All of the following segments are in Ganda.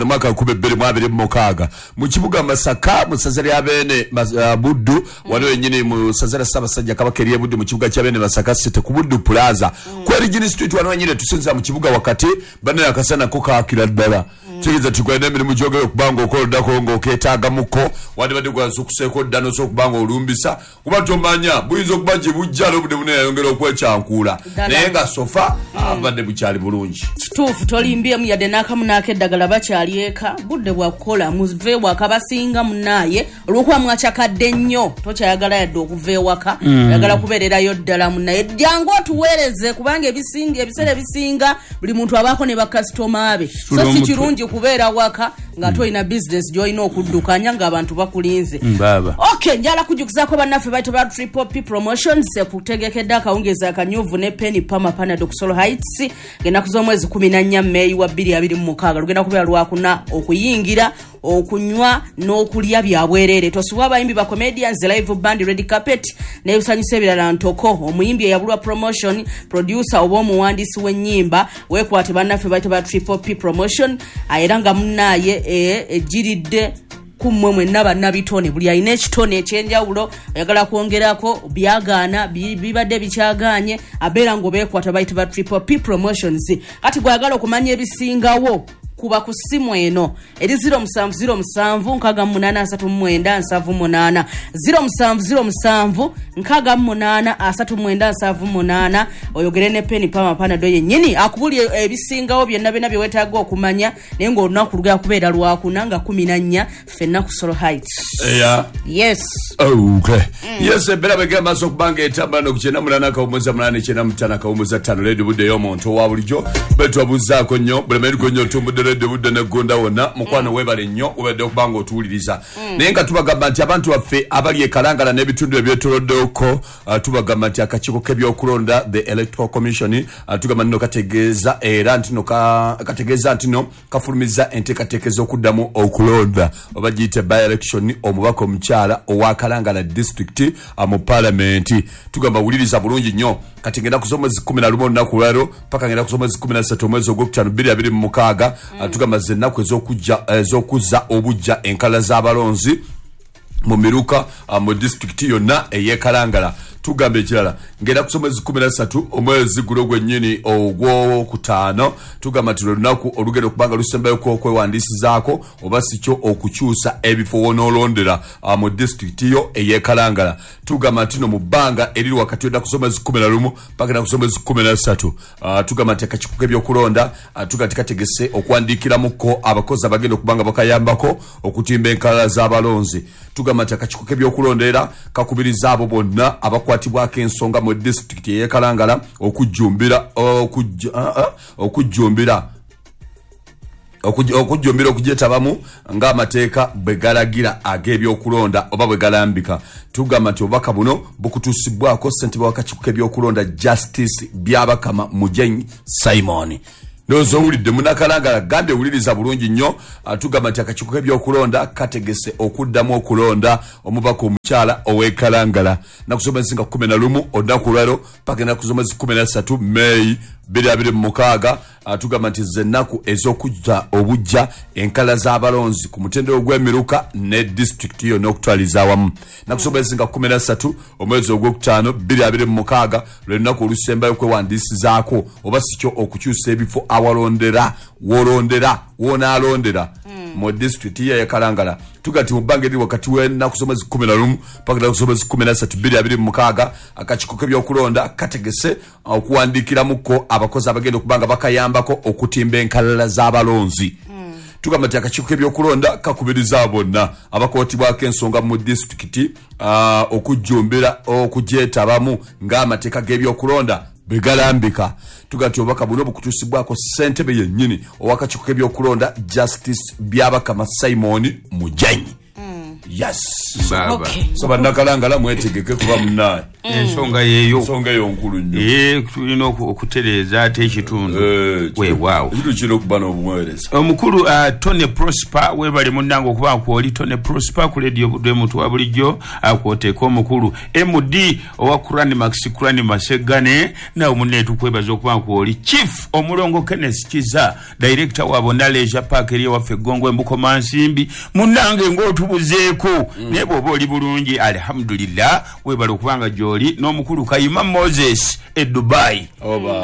Mwaka 2026 mu kibuga Masaka mu ssaza lya Beene Buddu, wano wennyini mu ssaza lya Ssaabasajja Kabaka ery'e Buddu, mu kibuga kya Beene Masaka City ku Buddu Plaza ku Erigini Street, wano wennyini tusinzira mu kibuga wakati. Bannaye, akasana ko kaakira ddala. Kitegeeza nti gwalina emirimu gy'ogenda okuba ng'okola oddako ng'okeetaagamuko, wandibadde gwazuukuseeko dda n'osobola okuba ng'olumbisa, kuba tomanya buyinza okuba gye bujja n'obudde buneyayongera okwekyankuula. Ddala. Naye nga so far abadde bukyali bulungi. Kituufu, tolimbyemu yadde n'akamu n'akeddagala. Bakyali eka, budde bwakukola, muve ewaka. Basinga munaaye olwokuba mwakyakadde nnyo, tokyayagala yadde okuva ewaka, oyagala kubeererayo ddala. Munaye, jangu otuweereze, kubanga ebisinga, ebiseera ebisinga buli muntu abaako ne bakasitoma be, so si omutwe. kirungi kubeera waka nga tolina bizinesi gy'olina okuddukanya ng'abantu bakulinze. Baaba. Ok, njala kujukizaako bannaffe baita ba Triple P Promotions ekutegekedde akawungeezi akanyuvu ne Penny Pama Panado ku Solo Heights ng'ennaku z'omwezi 14 Meeyi wa 2026. Lugenda kubeera lwakuna. Okuyingira, okunywa n'okulya bya bwereere. Tosubwa abayimbi ba comedians, live band, red carpet n'ebisanyusa ebirala ntoko. Omuyimbi eyabulwa promotion, producer oba omuwandiisi w'ennyimba, weekwate bannaffe baita ba Triple P Promotion. Era nga munaaye ejiridde kummwe mwenna bannabitone, buli alina ekitone ekyenjawulo oyagala kwongerako, byagaana bibadde bikyaganye, abeera nga obeekwata bayita ba Triple P Promotions. Kati gwayagala okumanya ebisingawo, kuba ku ssimu eno eri 0707 68 39 78, 0707 68 39 78, oyogere ne Peni Pama Panado yennyini akubuli ebisingawo byonna byonna bye weetaaga okumanya. Naye ng'olunaku lugenda kubeera lwakuna nga 14, ffenna ku Solo Heights. Eya. Yes. Okay. Yes, embeera bwegenda maaso okuba nga etambula no ku 98.8, 95.5, Leedi Budde ey'omuntu owa bulijjo. Betwabuzaako nnyo bulemeeriko nnyo, otumbudde Leedi Budde neggunda wonna. Mukwano, weebale nnyo, webadde okuba nga otuwuliriza. Naye nga tubagamba nti abantu baffe abali e Kalangala n'ebitundu ebyetoloddeko, tubagamba nti akakiiko k'ebyokulonda, the Electoral Commission, tugamba nno kategeeza era nti no kategeeza nti no kafulumiza enteekateeka ez'okuddamu okulonda, oba giyite by election, omubaka omukyala owa Kalangala District mu Palamenti. Tugamba wuliriza bulungi nnyo. Kati ngenda kuza omwezi 11 olunaku lwaliro paka ngenda kuza omwezi 13 omwezi ogwokutaano 2026. Tugamba ze ennaku ez'okuzza obujja enkala z'abalonzi mu miruka mu disitulikiti yonna ey'ekalangala. Tugamba ekirala, ngenda kusa omwezi 13 omwezi guno gwennyini ogwokutaano, tugamba nti lwe lunaku olugenda okuba nga lusembayo okwewandiisizaako oba si kyo okukyusa ebifo wonoolondera mu disitulikiti yo ey'ekalangala. Tugamba nti no mu bbanga eriri wakati ennaku z'omwezi 11 paka ennaku z'omwezi 13, tugamba nti akakiiko k'ebyokulonda, tugamba nti kategese okuwandiikiramuko abakozi abagenda okuba nga bakayambako okutimba enkalala z'abalonzi. Tugamba nti akakiiko k'ebyokulonda era kakubiriza abo bonna abakwatibwako ensonga mu disitulikiti ey'ekalangala okujjumbira okugyetabamu ng'amateeka bwe galagira ag'ebyokulonda oba bwe galambika. Tugamba nti obubaka buno bukutuusibwako ssentebe w'akakiiko k'ebyokulonda, Justice Byabakama Mujenyi Simon. Ndowooza owulidde, munakalangala gambye wuliriza bulungi nnyo. Tugamba nti akakiiko k'ebyokulonda kategese okuddamu okulonda omubaka omukyala ow'ekalangala naku z'omwezi nga 11 olunaku olwaliro paka ennaku z'omwezi 13 Meeyi 2026. Tugamba nti ze ennaku ez'okuzza obujja enkala z'abalonzi ku mutendera ogw'emiruka ne disitulikiti yonna okutwaliza awamu. Naku z'omwezi nga 13 omwezi ogwokutaano 2026 lwe lunaku olusembayo okwewandiisizaako oba si kyo okukyusa ebifo awalondera, wolondera, wonaalondera mu disitulikiti ye eyakalangala. Tuga nti mu bbanga eriri wakati w'ennaku z'omwezi 11 paka ennaku z'omwezi 13 2026, akakiiko k'ebyokulonda kategese okuwandiikiramuko abakozi abagenda okuba nga bakayambako okutimba enkalala z'abalonzi. Tugamba nti akakiiko k'ebyokulonda kakubiriza bonna abakwatibwako ensonga mu disitulikiti okujjumbira okugyetabamu ng'amateeka g'ebyokulonda bwe galambika. Tugamba nti obubaka buno bukutuusibwako ssentebe yennyini ow'akakiiko k'ebyokulonda, Justice Byabakama Simon Mujanyi. Yes. Baba. Okay. So bannakalangala mwetegeke kuba munnaye. Ensonga yeeyo. Ensonga eyo nkulu nnyo. Tulina okutereeza ate ekitundu. Weewaawo. Ekitundu kirina okuba n'obuweereza. Omukulu Tony Prosper, webale munnange okuba kwoli. Tony Prosper ku Radio Budde muntu wa bulijjo akwoteeka omukulu MD owa Kurani Max Kurani Masegane, nawe munne tukwebaza okuba kwoli. Chief Omulongo Kenneth Kiza, director wa Bonna Leisure Park eri ewaffe Gongo Embukoma Nsimbi, munnange ng'otubuzeeko. Naye bw'oba oli bulungi alhamdulillah, webale okubanga gy'oli. N'omukulu Kayima Moses e Dubai,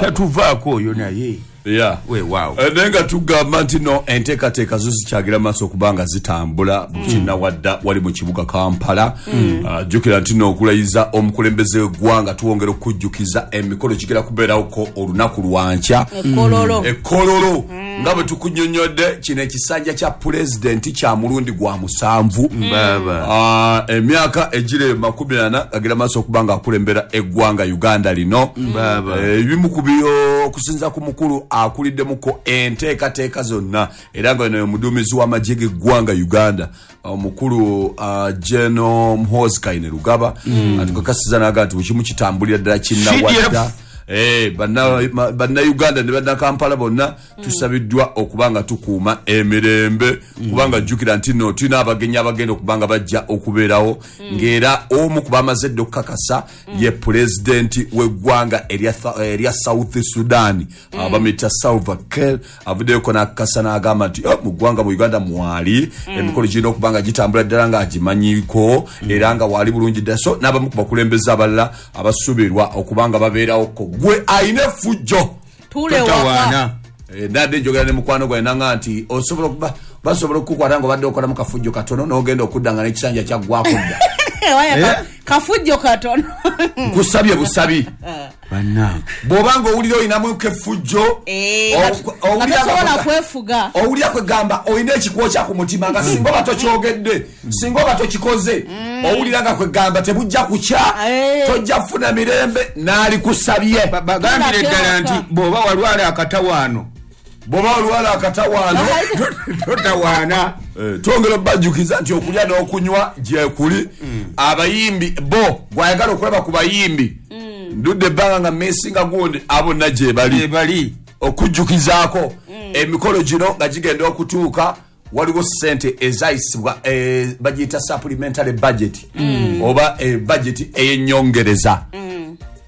tatuvaako oyo naye. Yeah. Weewaawo. Naye nga tugamba nti no enteekateeka zo zikyagira maaso okuba nga zitambula kinnawadda wali mu kibuga Kampala. Jjukira nti no okulayiza omukulembeze w'eggwanga tuwongera okujjukiza emikolo gigera kubeerawoko olunaku lwankya. Ekololo. Ekololo. Nga bwe tukunnyonnyodde kino ekisanja kya pulezidenti kya mulundi gwa 7. Baba. Emyaka egiri 40 agira maaso okuba nga akulembera eggwanga Uganda lino. Baba. Ebimu ku byo okusinza ku mukulu akuliddemukko enteekateeka zonna era nga ono omuduumizi w'amagye g'eggwanga Uganda omukulu General Muhoozi Kainerugaba atukakasiza n'agamba nti buli kimu kitambulira ddala kinnawadda. Bannayuganda ne bannakampala bonna tusabiddwa okuba nga tukuuma emirembe, kubanga jjukira nti no tulina abagenyi abagenda okuba nga bajja okubeerawo, ng'era omu ku bamaze dda okukakasa ye pulezidenti w'eggwanga erya South Sudan, bamuyita Salva Kiir, avuddeyoko n'akakasa n'agamba nti mu ggwanga mu Uganda mwali emikolo girina okuba nga gitambula ddala ng'agimanyiiko era nga waali bulungi ddala. So n'abamu ku bakulembeze abalala abasuubirwa okuba nga babeerawoko. Gwe ayina effujjo totawaana. Nadde njogera ne mukwano gwange nanga nti osobola okuba basobola okukukwata ng'obadde okolamu kafujjo katono n'ogenda okudda nga n'ekisanja kyaggwako dda. Kafujjo katono. Nkusabye busabi. Bannange. Bw'oba ng'owulira olinamu kefujjo, tosobola kwefuga. Owulira kwegamba olina ekikwokya ku mutima nga singa oba tokyogedde, singa oba tokikoze, owulira nga kwegamba tebujja kukya, tojja kufuna mirembe, n'alikusabye. Bagambire ddala nti bw'oba walwala akatawaano. Bw'oba walwala akatawaano, totawaana. Twongera obbajjukiza nti okulya n'okunywa gyekuli. Abayimbi bo gwayagala okulaba ku bayimbi, ndudde ebbanga nga meesinga gundi abo bonna gye bali. Okujjukizaako emikolo gino nga gigenda okutuuka, waliwo ssente ezayisibwa bagiyita supplementary budget oba budget ey'ennyongereza.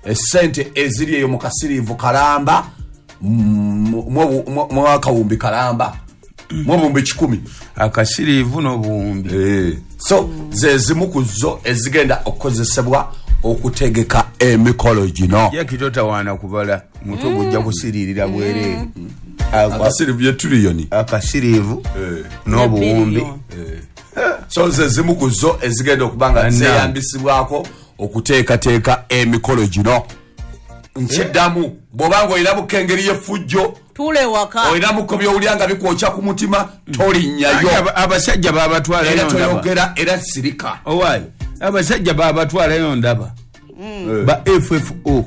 Essente eziri eyo mu kasiriivu kalamba mwakawumbi kalamba mwobuwumbi 1,000 akasiriivu n'obuwumbi. So ze zimu ku zo ezigenda okukozesebwa okutegeka emikolo gino. Jackie totawaana kubala mutwe gujja kusiririra bwereere. Akasiriivu ye trillioni. Akasiriivu n'obuwumbi. So ze zimu ku zo ezigenda okuba nga zeeyambisibwako okuteekateeka emikolo gino. Nkiddamu bw'oba ng'olinamuko engeri y'effujjo, tuule waka, olinamuko by'owulira nga bikwokya ku mutima, tolinnyayo. Abasajja babatwalayo era toyogera era sirika. Owaayi abasajja babatwalayo ndaba ba FFO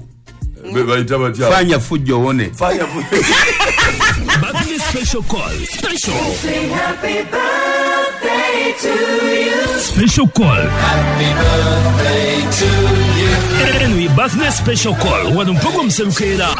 bayita batya? Fanya fujjo wone. Fanya fujjo. Birthday special call. Special. Sing happy birthday to you. Special call. Happy birthday to you. Anyway, birthday special call. Wano mpogo mserukera.